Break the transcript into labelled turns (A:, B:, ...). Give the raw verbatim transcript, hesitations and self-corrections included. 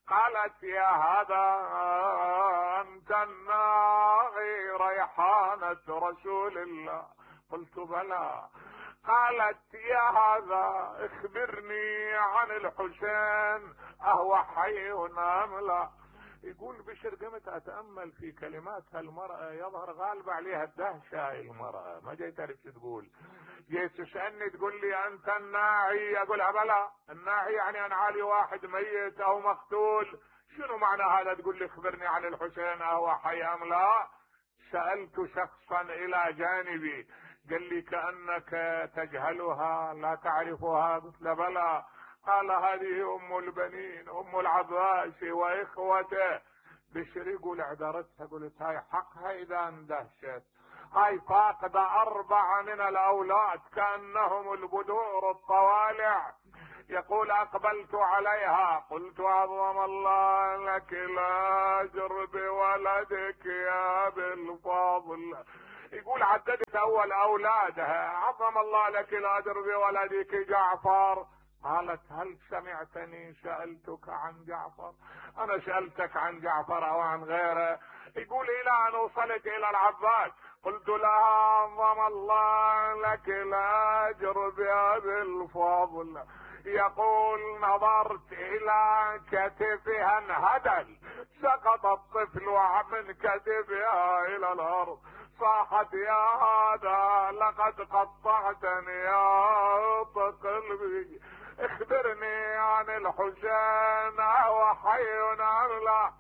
A: قالت يا هذا انت الناغي ريحانة رسول الله؟ قلت بلى. قالت يا هذا اخبرني عن الحسين اهو حي ام لا؟ يقول بشر قمت اتأمل في كلمات هالمرأة، يظهر غالب عليها الدهشة. هاي المرأة ما جاي تعرف شو تقول، جاي تسألني تقول لي انت الناعي؟ اقولها بلى. الناعي يعني انا عالي واحد ميت او مقتول، شنو معنى هذا تقول لي اخبرني عن الحسين اهو حي ام لا؟ سألت شخصا الى جانبي قال لي كأنك تجهلها لا تعرفها؟ قلت له بلى. قال هذه ام البنين ام العباس واخوته. بشر يقول اعذرتها، قلت هاي حقها اذا اندهشت، هاي فاقدة اربعة من الاولاد كأنهم البدور الطوالع. يقول اقبلت عليها قلت عظم الله لك الاجر بولدك يا بالفضل. يقول عددت اول اولادها، عظم الله لك الاجر بولدك جعفر. قالت هل سمعتني سألتك عن جعفر؟ انا سألتك عن جعفر او عن غيره؟ يقول الى ان وصلت الى العباس قلت لها عظم الله لك الاجر بأبي الفضل. يقول نظرت الى كتفها انهدل، سقط الطفل من كتفها الى الارض. صاحت يا هذا لقد قطعتني يا قلبي، اخبرني عن الحسين اهو حي ام لا؟